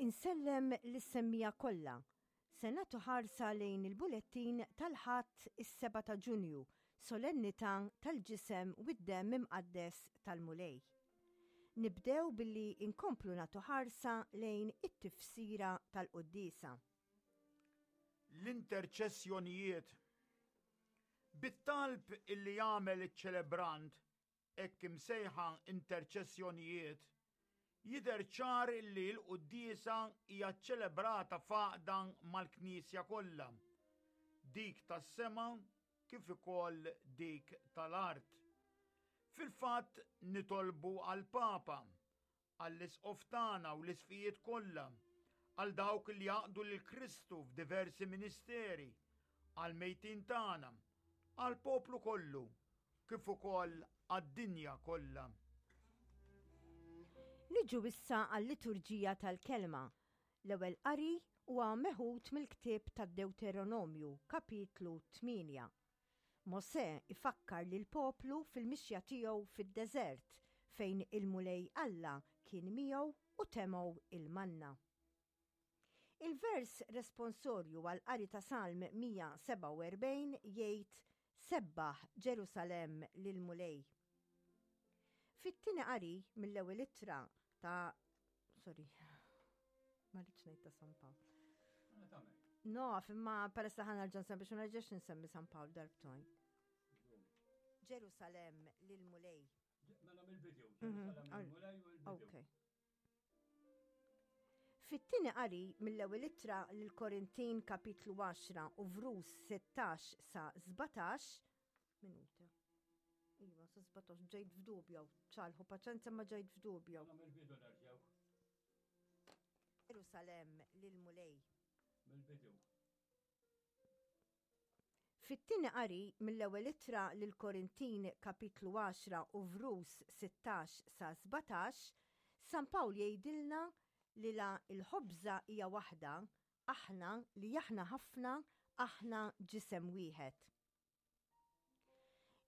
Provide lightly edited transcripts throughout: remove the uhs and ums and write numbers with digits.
Insellem lis-semmiegħa kollha. Se nagħtu ħarsa lejn il-bulettin tal-Ħadd is-7 ta' Ġunju, solennità tal-Ġisem u d-Demm Imqaddes tal-Mulej. Nibdew billi nkomplu nagħtu ħarsa lejn it-tifsira tal-quddiesa. L-interċessjonijiet. Bit-talb illi jagħmel iċ-ċelebrant hekk imsejħa interċessjonijiet, jidher ċar illi l-quddiesa hija ċċelebrata f'għaqda mal-Knisja kollha, dik tas-sema kif ukoll dik tal-art. Fil-fatt nitolbu għall-Papa, għall-Isqof tagħna u l-Isqfijiet kollha, għal dawk li jaqdu lil Kristu f'diversi ministeri, għall-mejtin tagħna, għall-poplu kollu, kif ukoll għad-dinja kollha. Niġu issa għal-liturġija tal-kelma. L-ewwel qari huwa meħud mill-ktieb tad-Dewteronomju, kapitlu 8. Mosè ifakkar lill-poplu fil-mixja tiegħu fid-deżert fejn il-Mulej Alla kien miegħu u temgħu il-manna. Il-vers responsorju għall-qari ta' Salm 147 jgħid Sebbaħ, Ġerusalemm, lill-Mulej. Fit-tieni qari mill-ewwel ittra ta' sorry, ma rridx ngħid ta' San Pawl. Naf, imma peress li ħa nerġa' nsemmi biex ma nerġax nsemmi San Pawl darbtojn. Ġerusalemm lill-Mulej. Mela mill-video, mhm. Ġerusalemm lill-Mulej u l-video. Okay. Fit-tieni qari mill-ewwel ittra lill-Korintin kapitlu 10 u vrus 16 sa 17 minuta. Iva, sa 17 ġejt f'dubju, ċalħu paċenza ma ġejt f'dubju. Mill-bidu nerġgħu. Ġerusalemm lill-Mulej. Mill-bidu. Fit-tieni qari mill-ewwel ittra lill-Korintin kapitlu 10 u vrus 16 sa 17, San Pawl jgħidilna li la l-ħobża hija waħda, aħna li aħna ħafna aħna ġisem wieħed.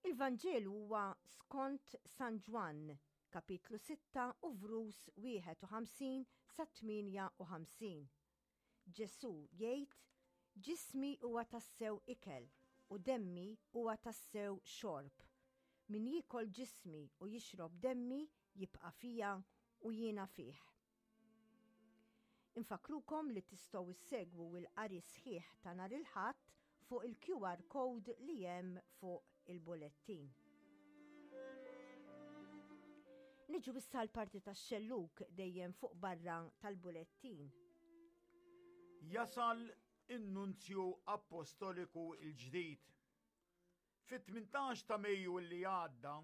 Il-Vanġelu huwa skont San Ġwann, kapitlu 6 u vrus 51 sa 58. Ġesù jgħid, Ġismi huwa tassew ikel u demmi huwa tassew xorb. Min jiekol ġismi u jixrob demmi jibqa' fija u jiena fih. Infakkrukom li tistgħu ssegwu l-qari sħiħ ta' nhar il-Ħadd fuq il-QR code li hemm fuq il-bulettin. Niġu issa l-parti tax-xellug dejjem fuq barra tal-bulettin. Jasal in-Nunzju Appostoliku l-ġdid. Fit-18 ta' Mejju li għadda,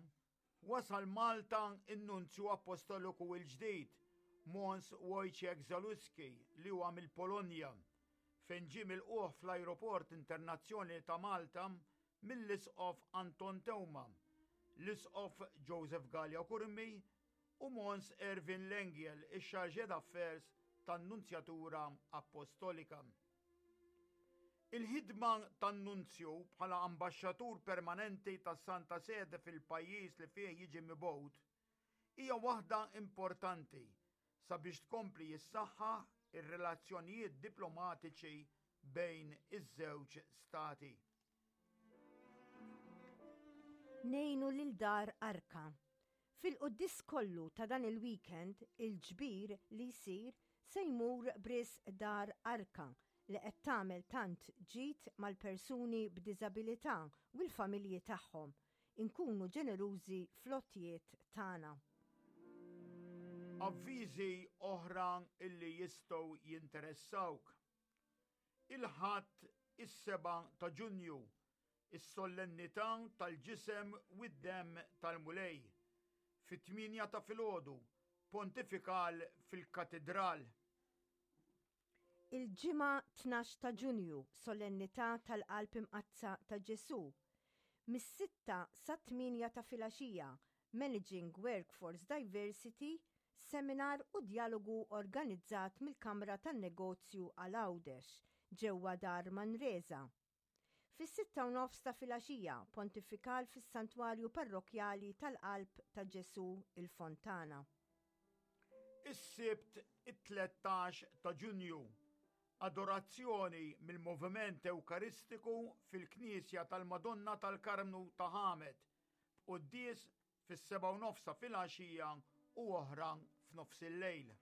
Wasal Malta n-Nunzju Appostoliku l-ġdid, Mons Wojciech Zaluski li huwa mill-Polonja, fejn ġie milqugħ fl-Ajruport Internazzjonali ta' Malta mill-Isqof Anton Teuma, l-Isqof Joseph Galea Curmi u Mons Erwin Lengiel, ix-Chargé d'Affaires tan-Nunzjatura Appostolika. Il-ħidma tan-Nunzju bħala ambaxxatur permanenti tas-Santa Sede fil-pajjiż li fih jiġi mibgħut hija waħda importanti sabiex tkompli jissaħħaħ ir-relazzjonijiet diplomatiċi bejn iż-żewġ stati. Ngħinu lil Dar Arka Fil-quddies kollu ta' dan il-weekend, il-ġbir li jsir se jmur b'risq Dar Arka li qed tagħmel tant ġid mal-persuni b'diżabilità u l-familji tagħhom. Inkunu ġenerużi fl-għotjiet tagħna. Avviżi oħra illi jistgħu jinteressawk. Il-Ħadd is-7 ta' Ġunju Is-Solennità tal-Ġisem u d-Demm tal-Mulej, fit-tmienja ta' filgħodu, Pontifikal fil-Katidral. Il-Ġimgħa 12 ta' Ġunju, Solennità tal-Qalb Imqaddsa ta' Ġesù, mis-sitta sat-tmienja ta' filgħaxija, Managing Workforce Diversity, seminar u djalogu organizzat mill-Kamra tan-Negozju għal Għawdex, ġewwa Dar Manresa. Fis-sitta u nofs ta' filgħaxija, pontifikal fis-Santwarju Parrokkjali tal-Qalb ta' Ġesù il-Fontana. Is-Sibt it-13 ta' Ġunju, Adorazzjoni mill-Moviment Ewkaristiku fil-Knisja tal-Madonna tal-Karmnu ta' Ħamed, b'quddies fis-7:30 ta' filgħaxija u oħra f'nofsillejl.